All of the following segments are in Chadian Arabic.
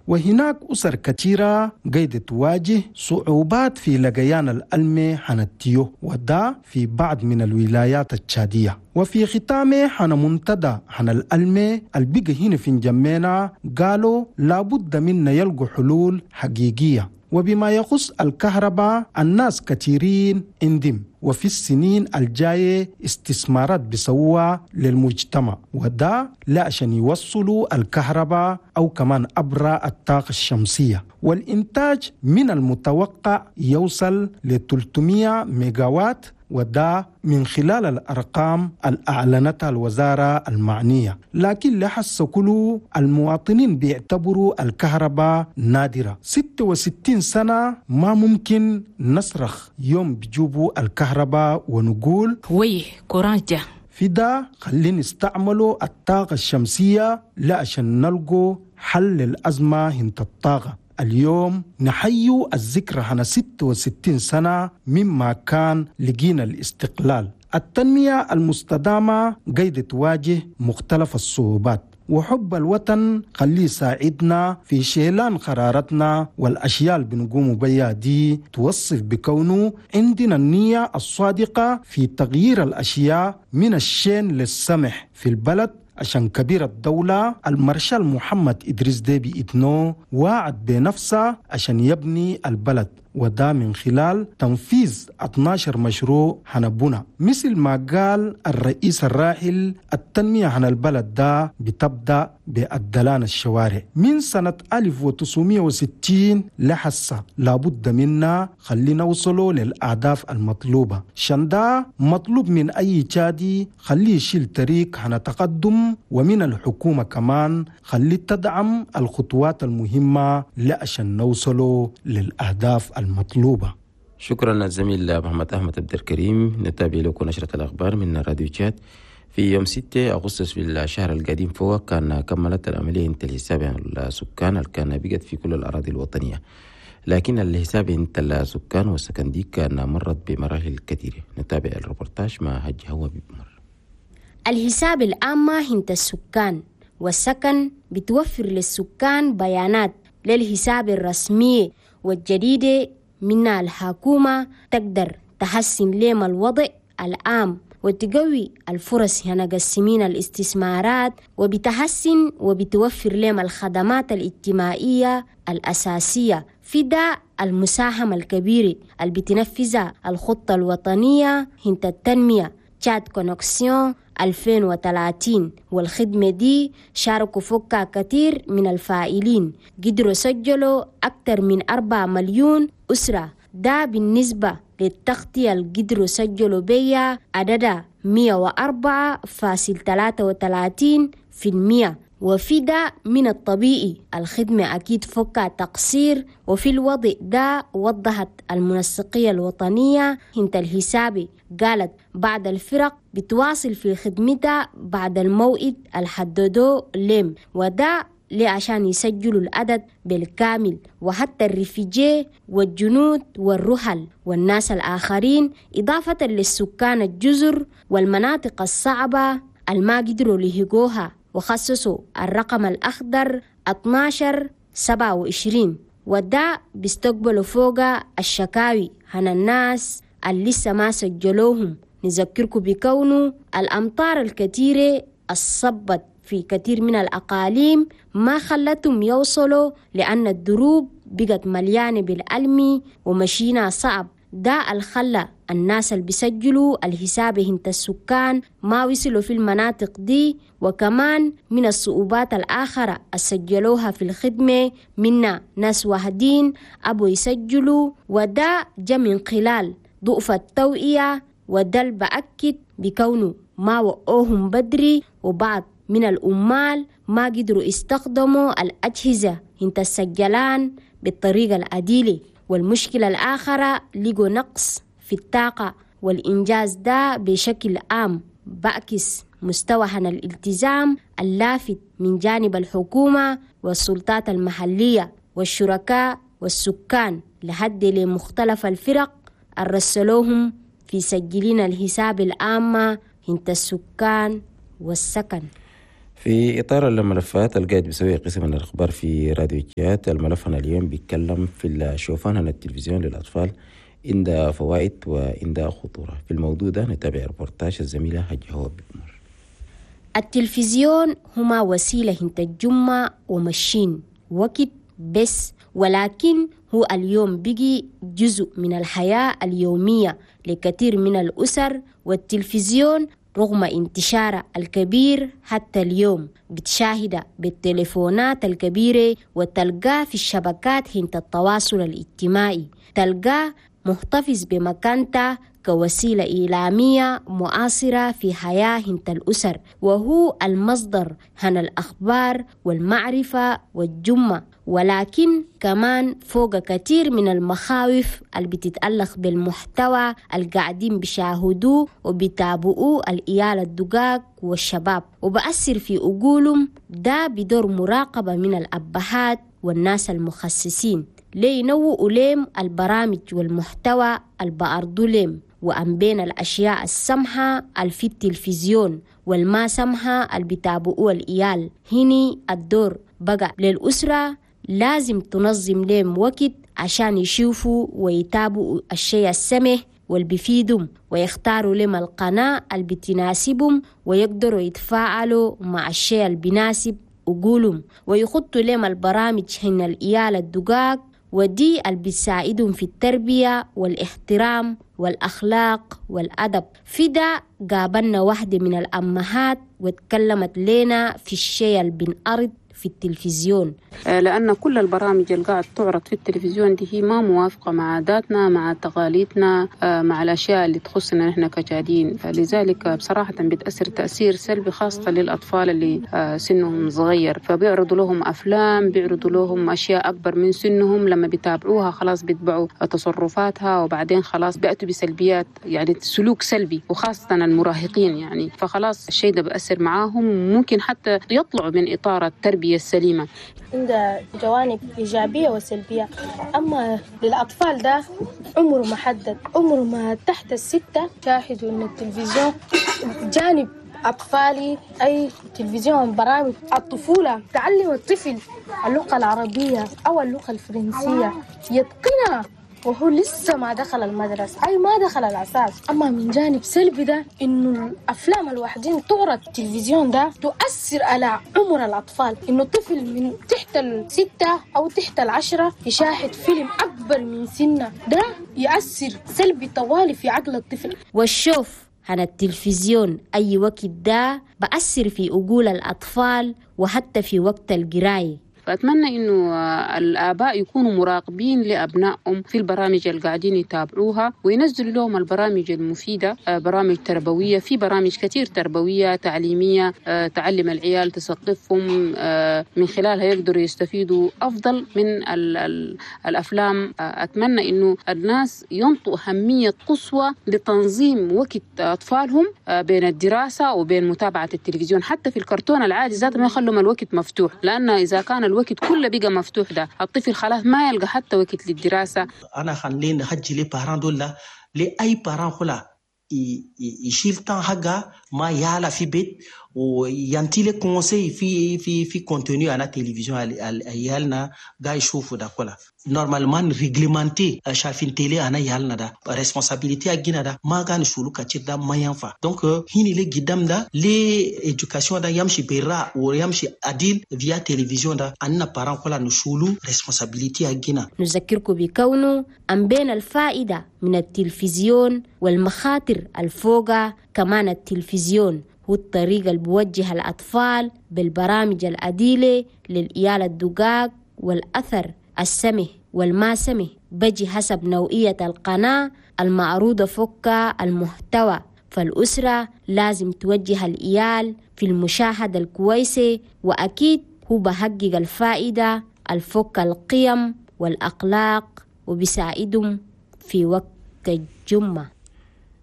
وهناك أسر كثيرة قاعدة تواجه صعوبات في لقيان الألمة حنتيو، وده في بعض من الولايات التشادية. وفي ختامه حن منتدى حن الألمة البقى هنا في جمينا قالوا لابد منا يلقوا حلول حقيقية. وبما يخص الكهرباء الناس كثيرين اندم، وفي السنين الجاية استثمارات بسوى للمجتمع، وده لا عشان يوصلوا الكهرباء أو كمان عبر الطاقة الشمسية. والإنتاج من المتوقع يوصل ل 300 ميجاوات، وده من خلال الأرقام اللي أعلنتها الوزارة المعنية. لكن لحس كله المواطنين بيعتبروا الكهرباء نادرة. 66 سنة ما ممكن نصرخ يوم بجوبوا الكهرباء ونقول وي كورانجا. في ده خلينا نستعملوا الطاقة الشمسية لا عشان نلقوا حل للأزمة هنت الطاقة. اليوم نحيو الذكرى هنا 66 سنة مما كان لقينا الاستقلال. التنمية المستدامة قيد تواجه مختلف الصعوبات، وحب الوطن خليه يساعدنا في شيلان قراراتنا والأشياء اللي بنقوم بيها دي توصف بكونه عندنا النية الصادقة في تغيير الأشياء من الشين للسمح في البلد. عشان كبير الدولة المارشال محمد إدريس ديبي إتنو وعد بنفسه عشان يبني البلد، وده من خلال تنفيذ 12 مشروع هنبونا. مثل ما قال الرئيس الراحل، التنمية عن البلد ده بتبدأ بأدلان الشوارع من سنة 1960 لحسة. لابد منا خلينا وصلوا للأهداف المطلوبة. شندا مطلوب من أي تشادي خليه يشيل طريق عن تقدم، ومن الحكومة كمان خلي تدعم الخطوات المهمة لعشان نوصلوا للأهداف المطلوبة. شكرا الزميل محمد أحمد عبد الكريم. نتابع لكم نشرة الأخبار من راديو تشاد. في يوم 6 أغسطس في الشهر القديم فوق كان كملت العملية انت الحساب السكان اللي كان بقت في كل الأراضي الوطنية، لكن الحساب انت السكان والسكن دي كان مرت بمراحل كثيرة. نتابع الريبورتاج مع هج هوا بمر. الحساب العامة انت السكان والسكن بتوفر للسكان بيانات للحساب الرسمي والجديدة منها الحكومة تقدر تحسن لهم الوضع العام وتقوي الفرص هنا قسمين الاستثمارات، وبتحسن وبتوفر لهم الخدمات الاجتماعية الأساسية. في ده المساهمة الكبيرة اللي بتنفذها الخطة الوطنية هنت التنمية تشاد Connexion 2030، والخدمة دي شاركوا فوقها كثير من الفاعلين، قدروا سجلوا أكثر من 4 مليون أسرة. ده بالنسبة للتغطية اللي قدروا سجلوا بيها عددها 104.33%. وفي ده من الطبيعي الخدمة أكيد فوقها تقصير. وفي الوضع ده وضحت المنسقية الوطنية هنت الحسابي، قالت بعض الفرق بتواصل في خدمتها بعد الموعد الحددوه لهم، وده ليه عشان يسجلوا العدد بالكامل، وحتى الرفيجي والجنود والرحل والناس الآخرين، إضافة للسكان الجزر والمناطق الصعبة الما قدروا لهجوها. وخصصوا الرقم الأخضر 1227، وده بيستقبلوا فوق الشكاوي عن الناس اللي لسه ما سجلوهم. نذكركم بكونه الأمطار الكثيرة الصبت في كثير من الأقاليم ما خلتهم يوصلوا، لأن الدروب بقت مليانة بالألمي ومشينا صعب. ده الخلى الناس اللي بيسجلوا الحساب هنت السكان ما وصلوا في المناطق دي. وكمان من الصعوبات الآخرة سجلوها في الخدمة منا ناس واحدين أبو يسجلوا، وده جا من خلال ضعف التوعية، وده اللي بأكد بكونه ما وقوهم بدري، وبعض من الأمال ما قدروا يستخدموا الأجهزة هنت السجلان بالطريقة العديلة. والمشكلة الآخرة لقوا نقص في الطاقة، والإنجاز ده بشكل عام بعكس مستوى عن الالتزام اللافت من جانب الحكومة والسلطات المحلية والشركاء والسكان لحد لمختلف الفرق الرسلوهم في سجلين الحساب العامة هنت السكان والسكن. في إطار الملفات القاعد بيسوي قسم الأخبار في راديو تشاد، الملف هنا اليوم بيتكلم في الشوفان هنا التلفزيون للأطفال عندها فوائد وعندها خطورة. في الموضوع ده نتابع ريبورتاج الزميلة هجة هو بمر. التلفزيون هما وسيلة هنت الجمعة ومشين وقت بس، ولكن هو اليوم بقي جزء من الحياة اليومية لكثير من الأسر. والتلفزيون رغم انتشاره الكبير حتى اليوم بتشاهد بالتليفونات الكبيرة وتلقاه في الشبكات هنت التواصل الاجتماعي، تلقاه محتفظ بمكانته كوسيلة إعلامية معاصرة في حياة هنت الأسر، وهو المصدر هن الأخبار والمعرفة والجمة. ولكن كمان فوق كثير من المخاوف اللي بتتألق بالمحتوى القاعدين بيشاهدوه وبيتابعوه الإيال الدقاق والشباب، وبأثر في عقولهم. ده بدور مراقبة من الأبهات والناس المخصصين لينوؤوا لهم البرامج والمحتوى البأرضو لهم، وأن بين الأشياء السمحة في التلفزيون والما سمحة اللي بيتابعوه الإيال. هني الدور بقى للأسرة، لازم تنظم لهم وقت عشان يشوفوا ويتابعوا الشيء السمح واللي بيفيدهم، ويختاروا لهم القناة اللي بتناسبهم، ويقدروا يتفاعلوا مع الشيء اللي بيناسب عقولهم، ويخطوا لهم البرامج هن الإيال الدقاق، ودي اللي بتساعدهم في التربية والاحترام والأخلاق والأدب. في ده قابلنا واحدة من الأمهات واتكلمت لنا في الشيء اللي بنعرض في التلفزيون، لأن كل البرامج اللي قاعد تعرض في التلفزيون دي هي ما موافقة مع عاداتنا، مع تقاليدنا، مع الأشياء اللي تخصنا نحن كجادين. لذلك بصراحة بتأثر تأثير سلبي خاصة للأطفال اللي سنهم صغير، فبيعرضوا لهم أفلام، بيعرضوا لهم أشياء أكبر من سنهم، لما بيتابعوها خلاص بيتبعوا تصرفاتها، وبعدين خلاص بيأتوا بسلبيات، يعني سلوك سلبي، وخاصة المراهقين يعني. فخلاص الشيء ده بأثر معاهم، ممكن حتى يطلعوا من إطار التربية السليمة. عندها جوانب إيجابية وسلبية. أما للأطفال ده عمره محدد، عمره ما تحت 6 شاهدوا إن التلفزيون جانب أطفالي، أي تلفزيون برامج الطفولة تعلم الطفل اللغة العربية أو اللغة الفرنسية يتقنها وهو لسه ما دخل المدرسة، أي ما دخل الأساس. أما من جانب سلبي ده إنه الأفلام الوحدين تعرض التلفزيون ده تؤثر على عمر الأطفال، إنه الطفل من تحت 6 أو تحت 10 يشاهد فيلم أكبر من سنه، ده يؤثر سلبي طوالي في عقل الطفل. والشوف عن التلفزيون أي وقت ده بأثر في عقول الأطفال وحتى في وقت القراية. فأتمنى إنه الآباء يكونوا مراقبين لأبنائهم في البرامج اللي قاعدين يتابعوها، وينزلوا لهم البرامج المفيدة، برامج تربوية، في برامج كثير تربوية تعليمية تعلم العيال، تثقفهم، من خلالها يقدروا يستفيدوا أفضل من الأفلام. أتمنى إنه الناس ينطوا أهمية قصوى لتنظيم وقت أطفالهم بين الدراسة وبين متابعة التلفزيون، حتى في الكرتون العادي ذاته ما يخلوا الوقت مفتوح، لأن إذا كان الوقت كله بقى مفتوح ده الطفل خلاص ما يلقى حتى وقت للدراسة. أنا خلينا نحجي les parents دول لأي parent خلا يشيل temps حقه ما يعلى في بيت وينتي les conseils في في في contenu على التلفزيون عيالنا قاعد يشوفوا ده كله. normalement réglementer شايفين télé انا يالنا ده responsabilité اجينا ده ما كان شولو كتير ده ما ينفع. donc هني لي قدام ده l'éducation ده يمشي برا ويمشي عديل via تلفزيون ده ان parents كلها نشولو responsabilité اجينا. نذكركم بكونه أم بين الفائدة من التلفزيون والمخاطر الفوقة، كمان التلفزيون هو الطريقة اللي بوجه الأطفال بالبرامج العديلة للإيال الدقاق، والأثر السمه والما سمه بجي حسب نوعية القناة المعروضة فوق المحتوى. فالأسرة لازم توجه الإيال في المشاهدة الكويسة، وأكيد هو بحقق الفائدة الفوق القيم والأخلاق وبيساعدهم في وقت الجمعة.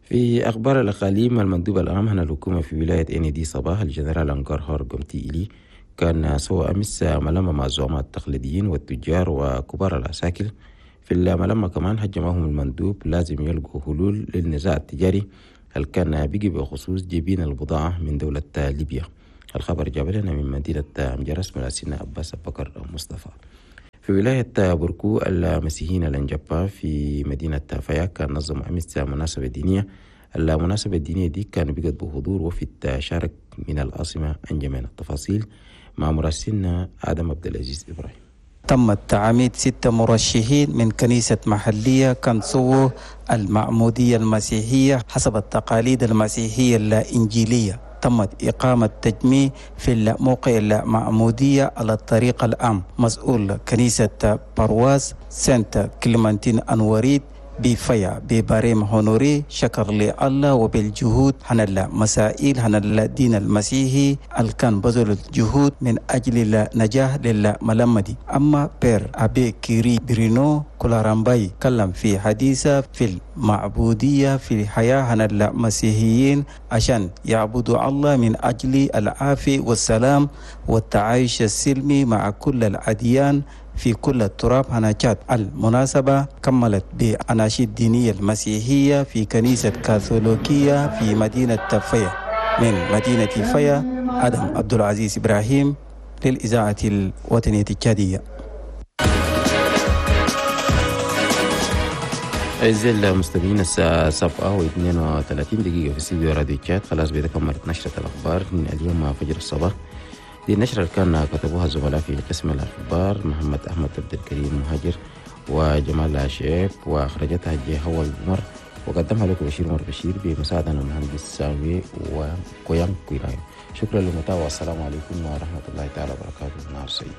في أخبار الأقاليم، المندوب العام هنا الحكومة في ولاية إندي صباح الجنرال أنكار هور قمتي إلي كان سوى أمس ملمة مع الزعماء التقليديين والتجار وكبار العساكر. في الملمة كمان هجمهم المندوب لازم يلقوا حلول للنزاع التجاري هل كان بيجي بخصوص جبين البضاعة من دولة ليبيا. الخبر جاب لنا من مدينة أمجرس مراسلنا عباس بكر مصطفى. في ولاية بوركو المسيحيين الأنجبا في مدينة فياك نظموا أمس مناسبة دينية. المناسبة الدينية دي كان بقت بحضور وفد شارك من العاصمة أنجمين. التفاصيل مع مراسلنا آدم عبد العزيز إبراهيم. تم تعميد 6 مرشحين من كنيسة محلية كنسو المعمودية المسيحية حسب التقاليد المسيحية الإنجيلية. تمت إقامة تجميع في الموقع المعمودية على الطريق العام. مسؤول كنيسة برواز سانت كليمانتين أنوريد بفيا ببريم هونوري شكر لله وبالجهود هن المسائل هن الدين المسيحي الكان بذل الجهود من أجل النجاح للملمدي. أما بير أبي كيري برينو كولارامباي كلم في حديثة في المعبودية في الحياة هن المسيحيين عشان يعبدوا الله من أجل العافية والسلام والتعايش السلمي مع كل الأديان في كل التراب هناكات. المناسبة كملت بأناشيد دينية المسيحية في كنيسة كاثوليكية في مدينة فيا. من مدينة فيا آدم عبد العزيز إبراهيم للإذاعة الوطنية التشادية. أعزائي المستمعين، الساعة 7:32 في استديو راديو تشاد. خلاص بيتكملت نشرة الأخبار من اليوم فجر الصباح. دي النشرة اللي كان كتبوها الزملاء في قسم الأخبار محمد أحمد عبد الكريم مهاجر وجمال شعيب، وأخرجتها جهوى القمر، وقدمها لكم بشير عمر بشير بمساعدة المهندس ساوي وكويان كويرايو. شكرا للمتابعة والسلام عليكم ورحمة الله تعالى وبركاته. نهار سعيد.